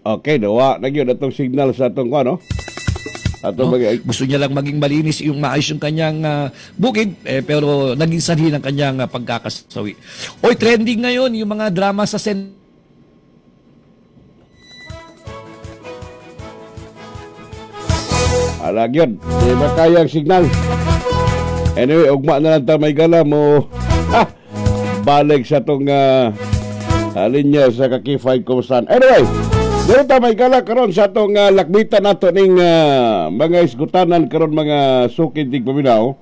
Okay, nawa na gyud atong signal sa atong kuan, no? Atong No? mga Gusto niya lang maging malinis yung maayos yung kanyang bukid, eh, pero naging sanhi ng kanyang pagkakasawi. Oy, trending ngayon yung mga drama sa Sen Ala gyud, di ba kaya ang signal? Anyway, ugma na lang ta, may gala mo. Ha! Balik sa atong linya sa Kaki 5 Kumustahan. Anyway, dito ta, may gala, karon sa atong lakbitan nato ning mga isgutanan karon, mga sukid tig paminaw.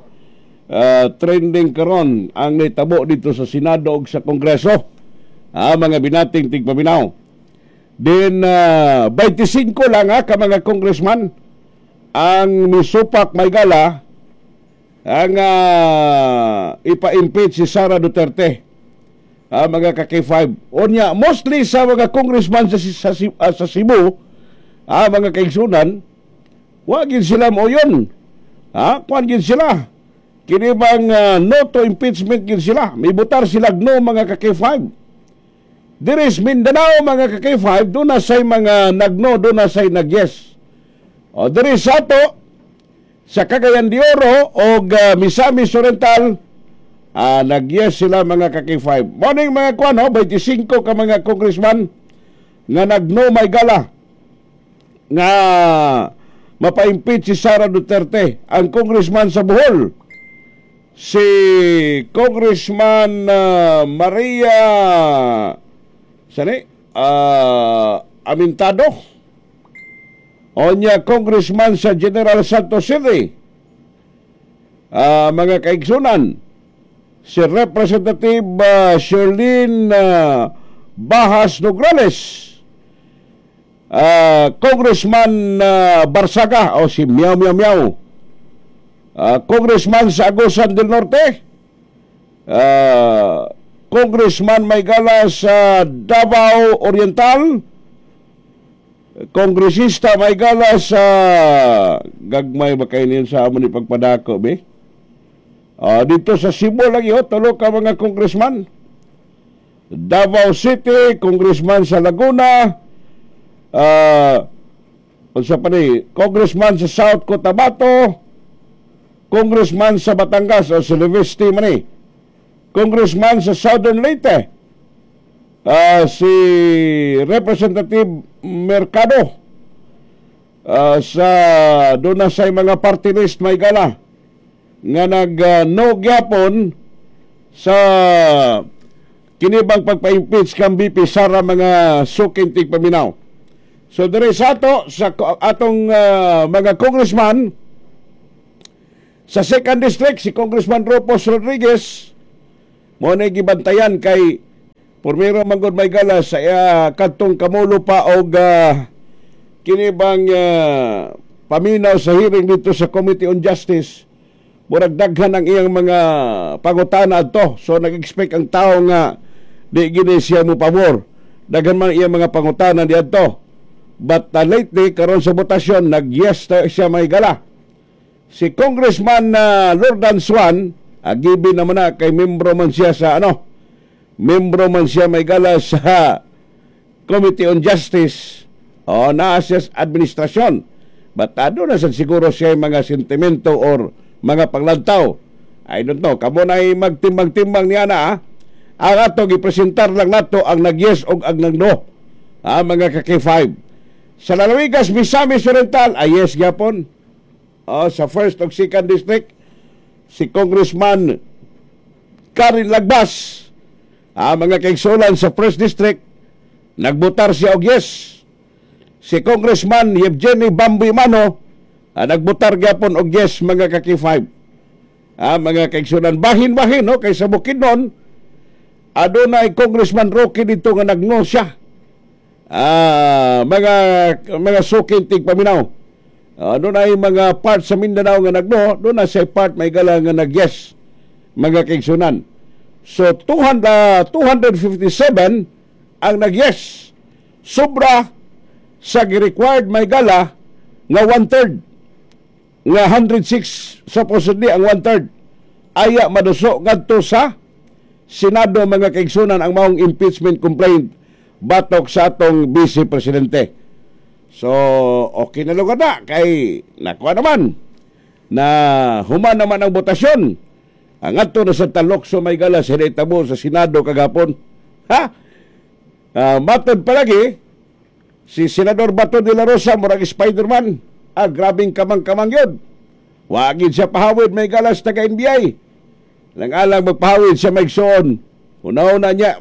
Trending karon ang nitabo dito sa Senado ug sa Kongreso. Mga binating tigpaminaw. Then 25 lang ha, ka mga congressman ang misupak, may gala, ang ipa-impeach si Sara Duterte. Mga ka-K5. Unya, mostly sa mga congressman sa Cebu, mga kaigsunan, wa gid sila moyon. Ha, kuan gid sila. Kini bang no to impeachment gid sila. Mibutar sila no, mga ka-K5. Diri sa Mindanao, mga ka-K5, doon na say mga nagno, doon na say nag-yes. O diri sa ato, sa Cagayan de Oro o Misamis Oriental, nag-yes sila, mga ka-K5. Morning mga kwan, ho, 25 ka mga congressman nga nagno, may gala, nga mapa-impeach si Sara Duterte. Ang congressman sa Bohol, si Congressman Maria sani Amintado. Onya congressman sa General Santos City, mga kaigsunan, si Representative Shirlene Bahas Nograles, Congressman Barsaga o si Meow Meow Meow, Congressman sa Agusan del Norte, Congressman may gala sa Davao Oriental, Kongresista may gala sa gagmay ba kayo sa amo ni pagpadako be? Dito sa Cebu lagi oh, tulo ka mga congressman. Davao City, congressman sa Laguna, unsa pa ni, congressman sa South Cotabato, congressman sa Batangas o si Leviste man ni, congressman sa Southern Leyte, si Representative Mercado, sa doon na sa mga party list, may gala, nga nag no gyapon sa kinibang pagpa-impeach kang VP Sara, mga suking tigpaminaw. So dire sa ato sa atong mga congressman sa second district, si Congressman Rufus Rodriguez mo na gibantayan kay pormero manggod, may gala, sa kadtong kamulo pa og kinibang paminaw sa hearing dito sa Committee on Justice, murag daghan ang iyang mga pangutana adto. So nag-expect ang tao nga di gini siya mo pabor. Daghan man iyang mga pangutana diadto. But lately karon sa botasyon, nag-yes siya, may gala. Si Congressman Lordan Swan, agibi naman na kay membro man siya sa ano, membro man siya, may gala, sa Committee on Justice o naa siya sa administrasyon. But ano na sad siguro siya mga sentimento or mga panglantaw. I don't know. Kamo na magtimbang-timbang niya na ah. Ang ato gipresentar lang nato ang nag-yes o ang nag-no. Ah, mga ka-K5. Sa Lalawigas, Misamis Oriental, ay yes gyapon. Oh, sa first o second district, si Congressman Karin Lagbas. Ah, mga kaigsulan, sa first district, nagbutar siya og yes. Si Congressman Yevgeny Bambi Mano, nagbutar gyapon og yes, mga ka-K5. Ah, mga kaigsunan, bahin-bahin no kay sa Bukidnon adunay Congressman Roque dito nga nagno siya. Ah, mga suking tigpaminaw. Doon ay mga part sa Mindanao nga nagno, doon na sa part, may gala, nga nag-yes, mga kaigsunan. So 200, 257 ang nag-yes. Sobra sa required, may gala, nga one-third. Nga 106 supposedly ang one-third. Aya maduso ngadto sa Senado, mga kaigsunan, ang maong impeachment complaint batok sa atong Vice Presidente. So, okay na lugar na kay nakuha naman na human naman ang botasyon. Ang adto na sa Talokso, may gala, sa tabo sa Senado kagahapon. Ha? Matod palagi, si Senador Bato de la Rosa murag Spider-Man. Ah, grabing kamang-kamang yun. Wa gid siya pahawid, may galas, taga NBI. Lang alang magpahawid siya, may igsoon. Una-una niya,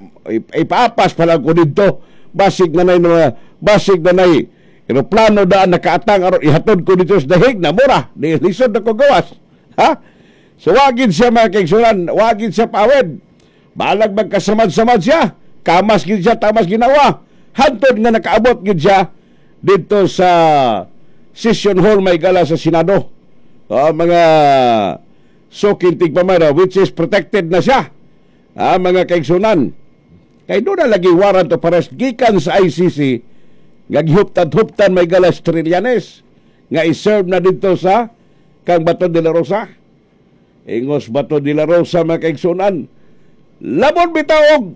ipaapas pa lang ko dito. Basig na nay eroplano daan nakaatang aron ihatod ko dito sa dahig na mura. Di lisod na ko gawas. Ha? So wa gid siya, mga kaigsunan, wa gid siya pawid. Balag magkasamad-samad siya. Kamas gid siya, tamas ginawa. Hantod nga nakaabot gid siya dito sa session hall, may gala, sa Senado. Oh, mga suking tigpamara, which is protected na siya. Ah, mga kaigsunan. Kay doon na lagi warrant of arrest gikan sa ICC nga gihuptan-huptan, may galas, Trillanes nga i-serve na dito sa kang Bato de la Rosa. Ingos Bato de la Rosa, mga kaigsunan, "Labon bitaw og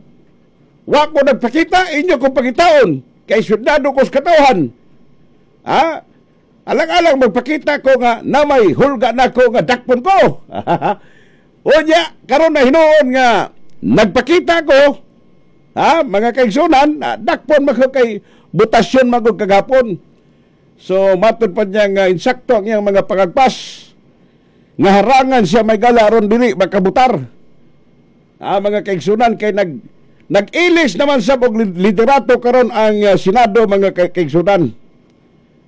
wa ko nagpakita, inyo ko pangitaon kay sundado ko sa katawhan." Ha? Alang-alang magpakita ko nga namay hulga na ko nga dakpon ko. Unya, karon na hinuon nga nagpakita ko, ha, mga kaigsunan, dakpon man ko kay botasyon man gud kagahapon. So matod pa niya nga insakto ang iyang mga pangagpas nga harangan siya, may gala, aron dili makabutar. Ah, mga kaigsunan, kay nag-ilis naman sa og liderato karon ang Senado, mga kaigsunan.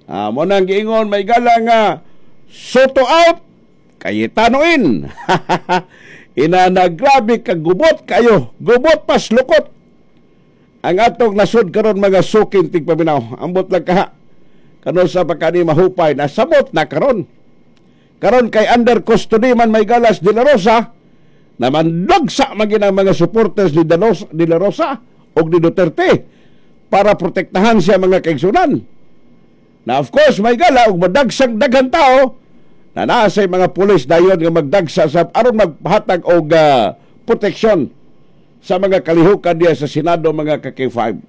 Ah, mo nang giingon, may gala, nga Sotto out, Cayetano in. Ina na grabe ka gubot kayo, gubot pas lukot. Ang atong nasod karon, mga suking tigpaminaw. Ambot lang kaha. Kano sa pagkani mahupay na samot na karon. Karon kay under custody man, may galas, De La Rosa, naman dagsa man ang mga supporters ni De La Rosa og ni Duterte para protektahan siya, mga kaigsunan. Na of course, may gala, og madagsang daghan tao na naa say mga pulis dayon nga magdagsa sa aron maghatag og proteksyon sa mga kalihukan diya sa Senado, mga ka-K5.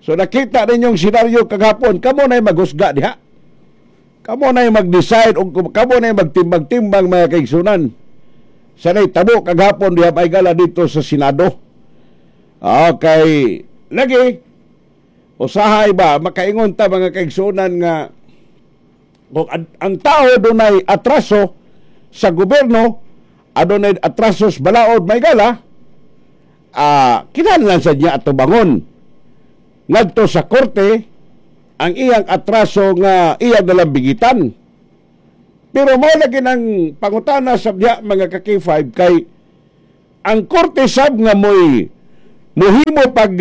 So nakita ninyong senaryo kagahapon, kamo na'y maghusga diha. Kamo na'y mag-decide o kamo na'y magtimbang-timbang, mga kaigsunan, sa tabo kagahapon diha, may gala, dito sa Senado. Okay, lagi usahay ba makaingon ta, mga kaigsunan, nga kung ang tao dunay atraso sa gobyerno, adunay atraso sa balaod, may gala, kinahanglan sa niya atubangon ngadto sa korte ang iyang atraso nga iyang nalambigitan. Pero mao lagi ng pangutana sa diha, mga ka-K5, kay ang korte sab nga mo'y muhimo pag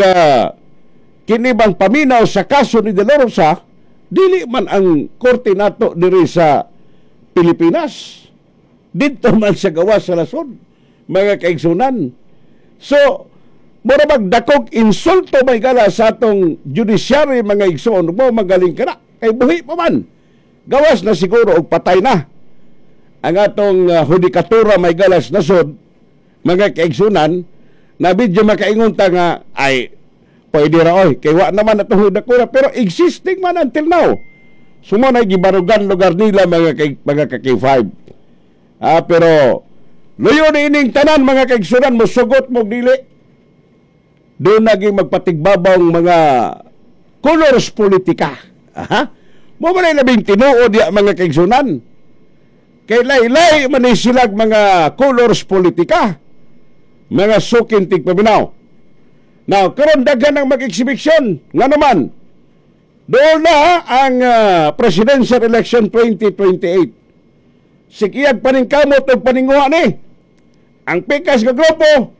kinibang paminaw sa kaso ni De La Rosa, dili man ang korte nato diri sa Pilipinas. Dito man sa gawas sa nasod, mga kaigsunan. So, mura magdakog insulto, may gala, sa atong judiciary, mga igsoon mo, magaling ka na. Kay buhi pa man. Gawas na siguro og patay na ang atong hudikatura, may galas, nasod, mga kaigsunan, na medyo makaingon ta nga ay pwede ra oy kay wa naman atong hudikatura, pero existing man until now. So mo na gibarugan lugar nila, mga ka-K5. Ah, pero luyo ni ining tanan, mga kaigsunan, mosugot mo dili. Doon naging magpatigbabang mga colors politika. Aha. Mo man ay labing tinuod ya, mga kaigsunan. Kay laylay man ni silag mga colors politika. Mga suking tigpaminaw. Now, karon daghan ang mag-exhibition. Nga naman, doon na ang presidential election 2028. Sikiyag paningkamot og paninguha ni. Ang pikas nga grupo,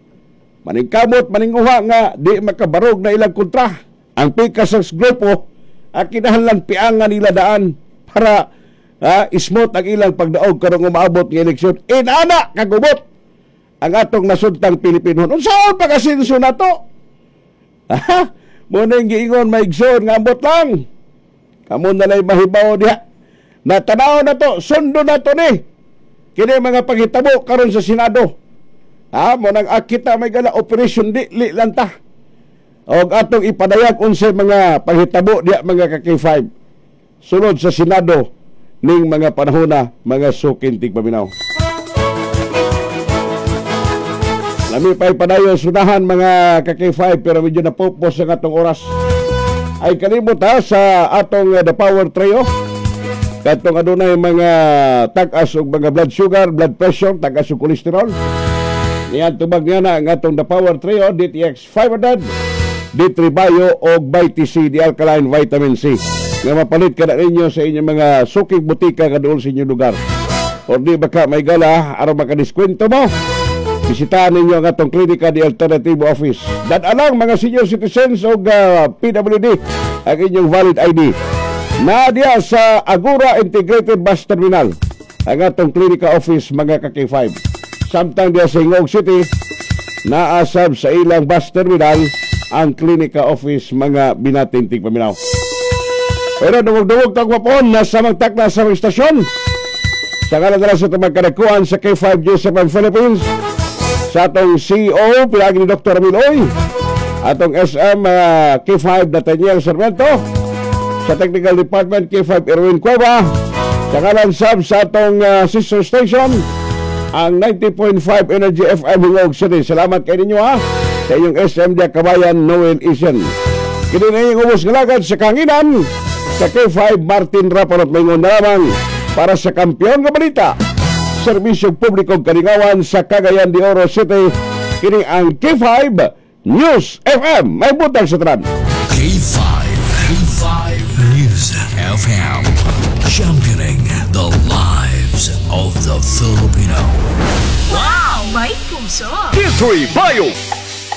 maningkamot maninguha nga di makabarog na ilang kontra. Ang pikas sa grupo, ang kinahanglan piangan nila daan para smooth ang ilang pagdaog karong umaabot ng eleksyon. Inana kagubot ang atong nasudtang Pilipinon. Unsaon pag-asinso na to? Ha? Mo na yung giingon, maigsoon, nga ambot lang. Kamo na lang mahibaw diha. Natanaw na to, sundo na to ni. Kini mga paghitabo karon sa Senado. Ha, mo nang akita, may gala, operation di li lang ta. Og atong ipadayag unsay mga paghitabo diha, mga ka-K5. Sulod sa Senado ning mga panahona, mga suking tigpaminaw. Lami pa'y padayon sunahan, mga ka-K5, pero medyo napupos ang atong oras. Ay kalimot ha sa atong The Power Trio. Katong adunay mga tag-as og mga blood sugar, blood pressure, tag-as og cholesterol. Niyan tubag niya na ang atong The Power Trio, DTX 500, D3 Bio og Vitamin C, the alkaline vitamin C. Nga mapalit ka na ninyo sa inyong mga suking butika kaduol sa inyong lugar. O di baka may gala, aron makadiskwento mo, bisitahan ninyo ang atong Klinika di Alternative Office. Dad-a lang mga senior citizens o PWD ang inyong valid ID. Na diya sa Agora Integrated Bus Terminal ang atong Klinika Office, mga ka-K5. Samtang diya sa Gingoog City, naasab sa ilang bus terminal ang Klinika Office, mga binating tigpaminaw. Pero dungog-dungog tag wapon nasa magtakla sa mga istasyon. Sa ngalan na sa tumang kadakuan sa K5 G7 Philippines, sa atong CEO, pinagi ni Dr. Ramil Oy, atong SM K5 Nathaniel Sarmiento, sa Technical Department K5 Erwin Cueva, sa ngalan sab sa atong sister station, ang 90.5 Energy FM Gingoog City. Salamat kay ninyo ha, sa inyong SM Dia Kabayan Noel Isen. Kini na yung ubos nga lagad sa kanginan sa K5 Martin Raparot, maingon na lamang para sa kampiyon nga balita. Serbisyo publiko kalingawan sa Cagayan de Oro City. Kini ang K5 News FM. May butang sa tanan. K5, K5 News FM. Championing the lives of the Filipino. Wow! May puso! D3 Bio.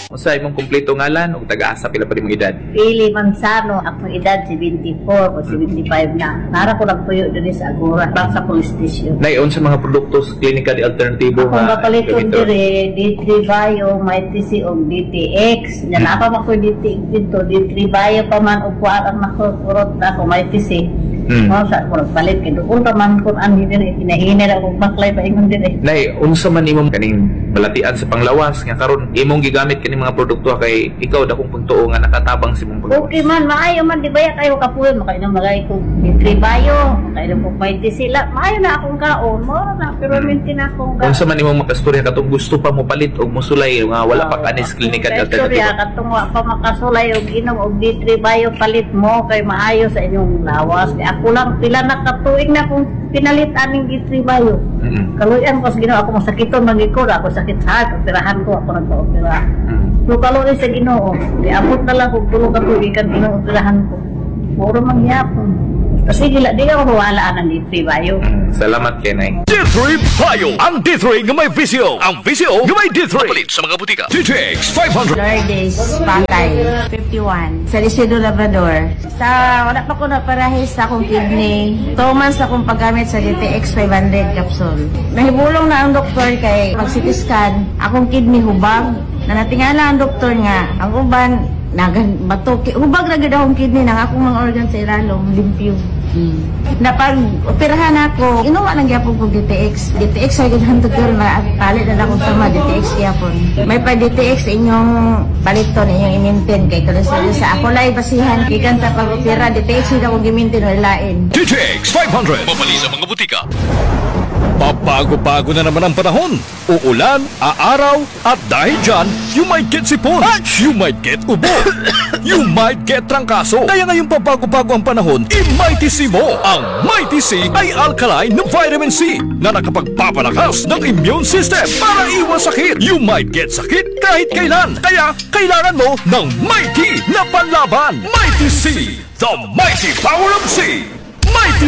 Unsa imong kumpleto ngalan ug taga-asa, pila pa imong edad? Pili Manzano, akong edad 74 o 75 na. Nara ko nagpuyo diri sa Agora, bang sa police station. Nay, unsa mga produkto sa Klinika de Alternatibo Akong gapaliton gamiton? diri, D3 Bio, Mighty C o DTX. Nya naa pa man ko DTX dito, D3 Bio pa man og kuan ang nakurot ako Mighty C. Mao sa ko nagpalit kay duol pa man kun anhi diri, hinahina ra akong baklay paingon diri. Nay, unsa man imong kaning balatian sa panglawas nga karon imong gigamit kaning mga produkto kay ikaw dakong pagtuo nga nakatabang sa imong panglawas? Okay man, maayo man, di ba ya kayo kapuyo, makainom magay ko D3 Bio, makainom ko Mighty C, la, maayo na akong kaon, mo na, pero maintain na akong kaon. Unsa man imong makastorya katong gusto pa mo palit og mosulay nga wala pa kanis Klinika de Alternatibo? Istorya, katong wa pa makasulay og inom og D3 Bio, palit mo kay maayo sa inyong lawas. Kay ako lang pila na katuig na kung pinalit aning D3 Bio. Kaluyan ko sa Ginoo, ako masakiton man ko, ako sakit sa heart, operahan ko, ako nagpa-opera. So kaluoy sa Ginoo, giabot na lang kog 3 ka tuig kan operahan ko. Muro man gyapon. Kasi gila di ako wala ang D3 Bio. Salamat kay Nay. D3 Bio. Ang D3 nga may VCO. Ang VCO nga may D3. Palit sa mga butika. DTX 500. Lourdes Patay, 51. Sa Isidro Labrador. Sa wala pa ko naparahe sa akong kidney. 2 months akong paggamit sa DTX 500 capsule. Nahibulong na ang doktor kay pag CT scan, akong kidney hubag. Nanatingala ang doktor nga ang uban nagan bato hubag ra gyud akong kidney nang akong mga organ sa ilalom limpyo. Napag operahan ako, inuwa lang gyapon kog DTX. DTX ay gud doktor na palit na akong sama DTX gyapon. May pa DTX inyong paliton, inyong i-maintain kay kalusad sa ako lay basihan gikan sa pag-opera, DTX jud akong gi-maintain, wala lain. DTX 500. Mapali sa mga butika. Pabago-bago na naman ang panahon. Uulan, aaraw, at dahil dyan, you might get sipon. You might get ubo. You might get trangkaso. Kaya ngayong pabago-bago ang panahon, i-Mighty C mo. Ang Mighty C ay alkaline ng vitamin C na nakapagpapalakas ng immune system para iwas sakit. You might get sakit kahit kailan. Kaya kailangan mo ng Mighty na panlaban. Mighty C, the mighty power of C. Mighty